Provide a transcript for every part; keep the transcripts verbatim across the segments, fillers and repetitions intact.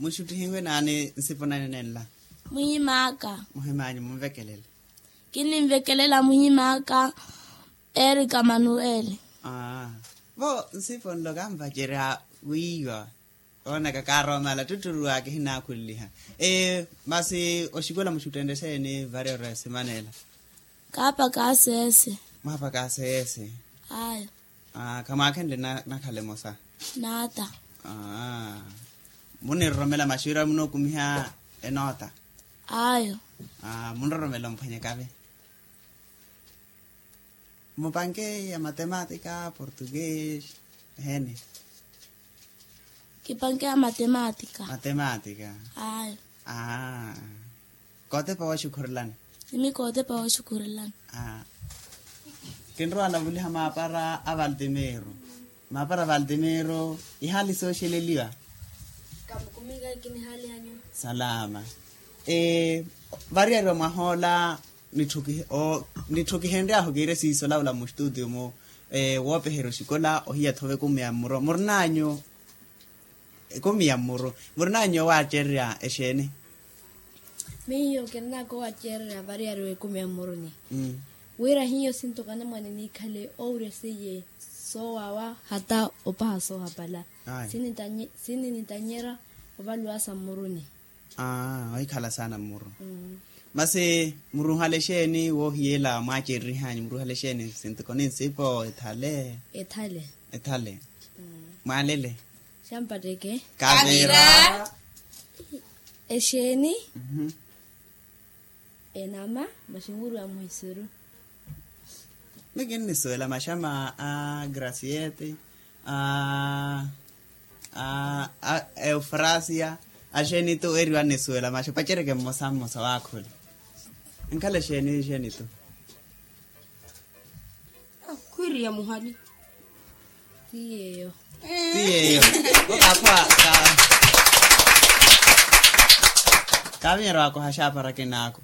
Muxuttihiwe naani nsipo nanyu nenla? Muhim'aka. Muhim'anyu munvekelele. Kinninvekelela muhim'aka. Erika manuweli. Aa. Vo nsipo nlo kanvacerya wiiwa. Oonaka kaaromala ttutturu akehinaakhulliha. Masi oxikola muxuttenrye xeeni variyari ya simanela? Kaapaka aseese. Mwaapaka aseese. Ayo. Khamwaakhenle nakhala emosa? Naata. Muniroromela maxuwira munookumiha enoota? Ayo. Muniroromela omphwanyekave. Mupanke ya matematika portugues? Eheni. Kipanke ya matematika. Matematika. Ayo. Kootepa woxukhurelani? Imi kootepa woxukhurelani. Kinrowa navuliha maapara a valtimiro. Maapara a valtimiro ihaali sooxeleliwa? Kamukuminka kinihaali anyu. Salama. Variyari wa mwahoola. Nitthukihenry'ahu kiire siiso olavula mustutio-mu. Woopeherya oxikola ohiya-tho ove ekumi ya mmuru murin'anyu. Ekumi ya mmuru murin'anyu owaacererya exeeni? Miyo kirin'aka owaacererya variyari w'ekumi ya mmuruni. Wira hiyo sintokana mwaani niikhale owurya seiye soowawa hata opaha soohapala. Sininitanyerya ovaluwa sa mmuruni. Aa ohikhala saana mmuru. Masi muruhale exeeni woohiyela mwaacererihanyu muruhale exeeni sintoko ni nsipo ethale? Ethale. Ethale. Mwaalele? Xampatteke. Kavira. Exeeni. Enama. Maxinwiriwa muhisiru. Miyo kinnisuwela maxama a graciete a a eufrasia. Axeeni tu eriwa nnisuwela maxa opacereke mmosa mmosa waakhula. Nkhala exeeni exeeni tu. Khwiriya muhali. Ti yeeyo. Ti yeeyo. Kakhwa. Kaavinyerya waakoha axaapara kinaaku.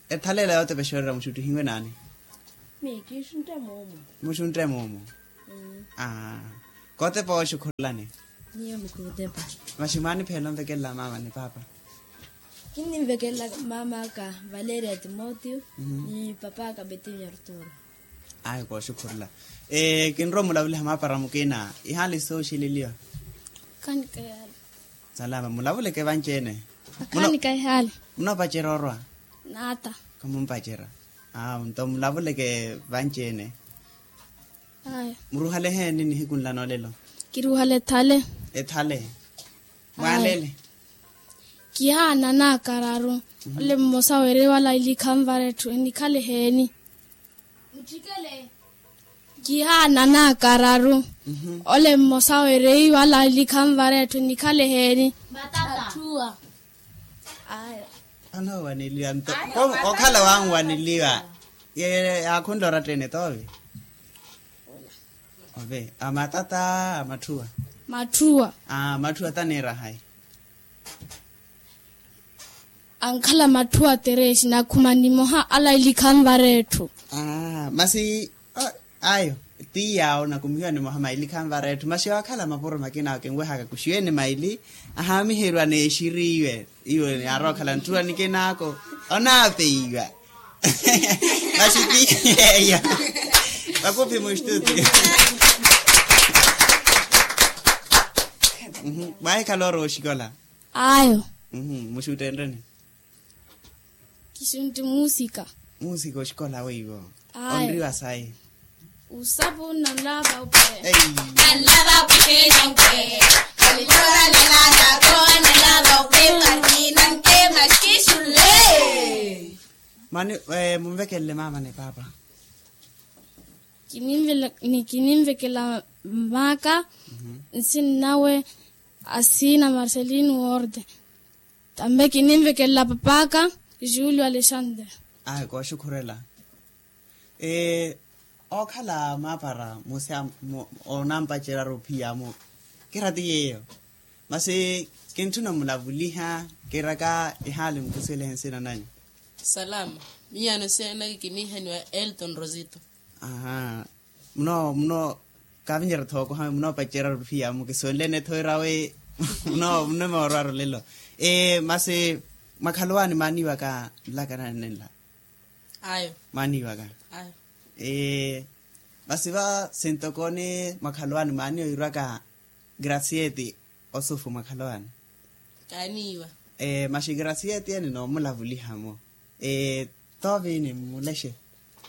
Ethaleela yootepexererya muxuttihiwe naani? Miyo kiixuntte moomo. Muxuntte moomo. Kootepa wooxukhurelani? Miyo mikootepa. Maxi mwaanipheela onvekelela maama ni paapa? Kinninvekelela maam'aka valeria timotio ni papaaka betinho arturo. Ayo kooxukhurela. Kinrowa mulavuliha maapara mukina ihaali sooxeleliwa? Khanikaihaali. Salama mulavuleke vanci-ene. Khanikaihaali. Munoopacerya orwa? Naata. Khamumpacerya. Nto mulavuleke vanci-ene. Muruhale eheeni nihiku nla noolelo? Kiruhale ethale. Ethale. Mwaalele? Kihaana naakararu. Ole mmosa weereiwa ala ilikha nvara etthu enikhale eheeni? Kihaana naakararu. Ole mmosa weereiwa ala ilikha nvara etthu enikhale eheeni? Mattattuwa. Anoowaneliwa nto okhala wanwaneliwa. Yaakhunla oratta-ene toove? Ove a matata a matthuwa. Matthuwa. A matthuwa taniira hayi? Ankhala matthuwa teresi nakhuma nimoha ala ilikha nvara etthu. Masi ayo ti yaawo nakumihiwa nimoha maili khanvara etthu masi waakhala mapuro makina awo kinwehaka kuxiwene maili ahaamiheriwa n'exiri iwe. Iwe yaarowa okhala ntthuwa nikinaako onaapeiwa. Masi ti yeeyo. Vakuphi muxtuti. Mwahikhala orowa oxikola? Ayo. Muxuttenreni? Kixuntti muusika. Muusika oxikola weiwo? Ayo. Onriwa sayi? Usapu nolava upe. Nolava upe nanke. Nolava upe nanke. Mani munvekelele maama ni paapa. Kininvekela maaka nsinnawe asiina marcelino worde. Tambe kininvekelela papaaka julio alexandre. Ayi kooxukhurela. Ookhala maapara musi onampacerya aruphiyamo. Kira ti yeeyo. Masi kintthuna mulavuliha. Kiraka ihaali mukusuwelehe nsina nanyu. Salama. Miyaano nsina naki kiniihaniwa elton rosito. Aha. Muno muno kavinyerya thookoha munoopacerya aruphiyamo kisuwenlene tho irawe. Muno muno moorwara olelo. Masi mwakhalowaani maaniiwaka nlaka nanenla? Ayo. Maaniiwaka? Ayo. Masi va sintokooni mwakhalowaani maaniiwa wirwaka gracieti osufu mwakhalowaani? Kaaniiwa. Masi gracieti ene noomulavuliha-mo. Tooviini mmulexe?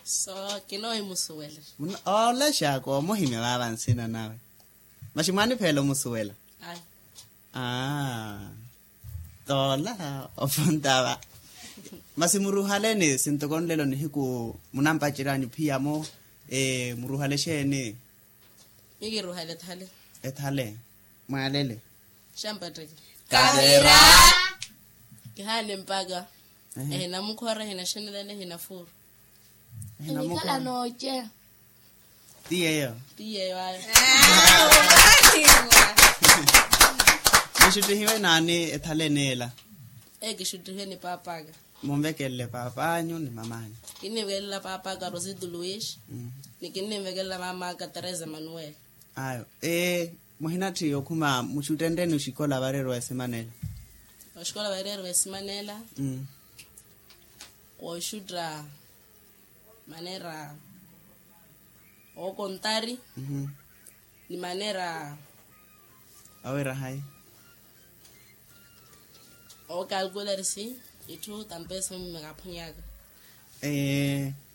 So kinoohimusuwela. Oolexa koomuhimya vaava nsina nawe. Masi mwaanipheela omusuwela? Ayo. Aa. Toola ofontava. Masi muruuhaleeni sintokooni lelo nihiku munampacery'anyu phiyamo. Muruuhale exeeni? Miyo kiruuhale ethale. Ethale. Mwaalele. Xampatteke. Kavira. Kihaane mpaka. Ehinamukhora ehinaxenelele ehinafuuru. Enikhala nooceya. Ti yeeyo. Ti yeeyo ayo. Muxuttihiwe naani ethale eneela? Ee kixuttihiwe ni paap'aka. Munvekelele paap'anyu ni mam'anyu. Kinninvekelela paap'aka rosito luis. Ni kinninvekelela mam'aka teresa manuel. Ayo. Muhinatthi okhuma muxuttenreni oxikola vareeriwa esimanela? Oxikola vareeriwa esimanela. Kooxutta maneera ookontari ni maneera. Awira hayi? Ookalkularisi itthu tampeso mmekaphonyaka.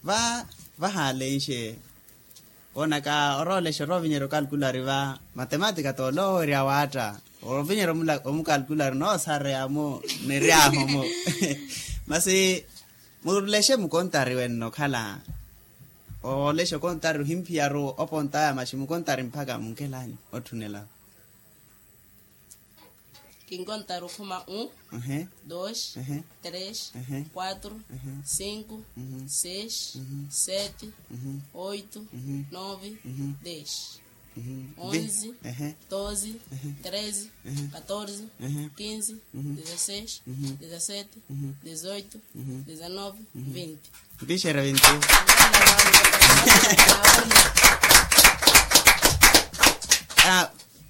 Va vahalenxe woonaka oroolexa oroovinyerya okalkulari va matematika t'ole owerya waatta. Ovinyerya omukalkulari noosareya-mo neryaho-mo. Masi mulexe mukontari wenno okhala. Oolexa okontari ohimphiyaru opontaya masi mukontari mpakha munkelanyu otthunela. Kinkontari okhuma un, dos, tres, quatro, cinco, seis, sete, oito, nove, dez, onze, doze, treze, catorze, quinze, dezasseis, dezasete, dezoito, dezanove, vinte. Mpixerya vinti.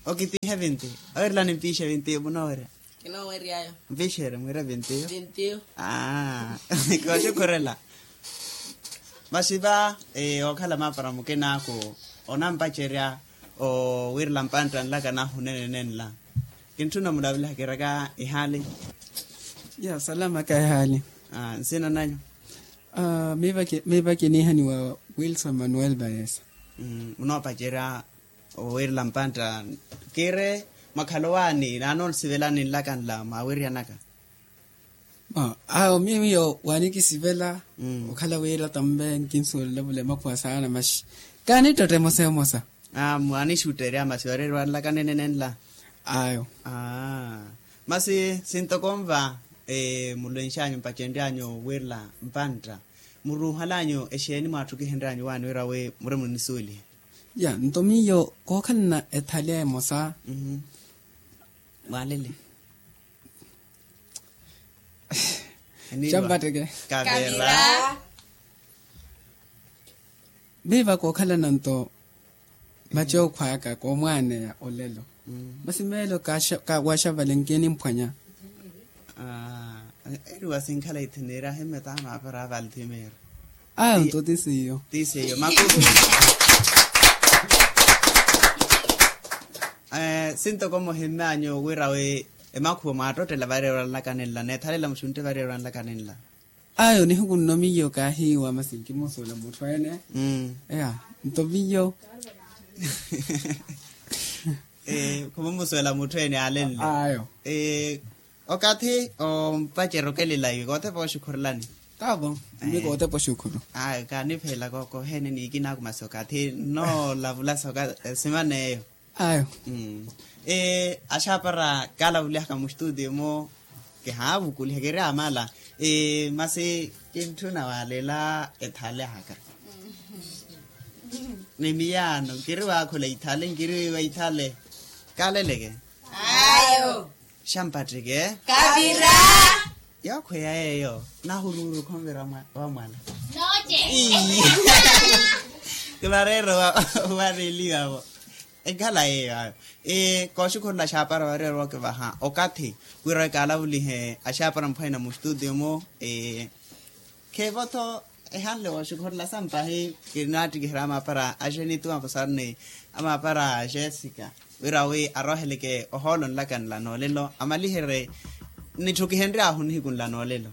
Okitiihe vinti. Awerela nimpiixe vinti munoowerya? Kinooweryayo. Mpixerya mwiire vinti. Kooxukhurela. Masi va ookhala maapara mukinaaku onampacerya owiirela mpantta nlaka nahu nenenenla. Kintthuna omulavulaha kiraka ihaali. Ya salamaka ihaali. Nsina nanyu? Miipa kiniihaniwa wilson manuel vayesa. Munoopacerya owiirela mpantta. Kiire mwakhalowaani naanoosivelani nlaka nla mwawiryanaka? Awo miyo waanikisivela okhala wira tambe nkinsuwela vula emakhuwa saana maxi kaanittotta emosa emosa. Mwaanixutterya masi oreeriwa nlaka nenenenla. Ayo. Masi sintokonva mulwenxanyu mpacenryanyu wiirela mpantta muruuhalanyu exeeni mwaattukihenryanyu waani wira wi muri munisuwelihe? Ya nto miyo kookhalana ethali emosa. Mwaalele. Xampatteke. Kavira. Viiva kookhalana nto macookho aka koomwaaneya olelo. Masi meelo kawaxavale nkinimphwanya. Eriwa sinkhala ithiniri ahimeta maapara avalthimeero. Ayo nto ti seiyo. Ti seiyo makuku. Sintoko muhimmeanyu wira wi emakhuwa mwaattottela vareerwa nlakanenla neethalela muxuntte vareerwa nlakanenla. Ayo nihiku nno miyo kaahiiwa masi nkimusuwela mutthu ene. Eya nto miyo. Khumumusuwela mutthu ene aalenle. Ayo. Okathi ompacerya okelelayiwe koothepa oxukhurelani? Taavo. Mmi koothepa oxukhuru. Ayo kaanipheela kookoheene niikinaaku masi okathi nnoolavulasa oka simana eyo. Ayo. Axaapara kaalavulihaka muxtuutiyo-mo kihaavukuliha kiri amala. Masi kintthuna waalela ethale ahaka. Ni miyaano nkiri waakhula ithale nkiri wa ithale. Kaaleleke. Ayo. Xampateke. Kavira. Yookhweya yeeyo nahuruuru khonvira wa mwala. Nooce. Kivareera owareliwa-vo. Ekhala yeeyo ayo. Kooxukhurela axaapara wari orowa okivaha okathi wira wi kaalavulihe axaapara mphwanya mustutiyo-mo. Kheevo-tho ehanle wooxukhurela sampahi. Kinaattikihira amaapara a jenituwa kusarni amaapara a jessica wira wi arooheleke ohoolo nlaka nla noolelo amaliherye nitthukihenry'ahu nihiku nla noolelo.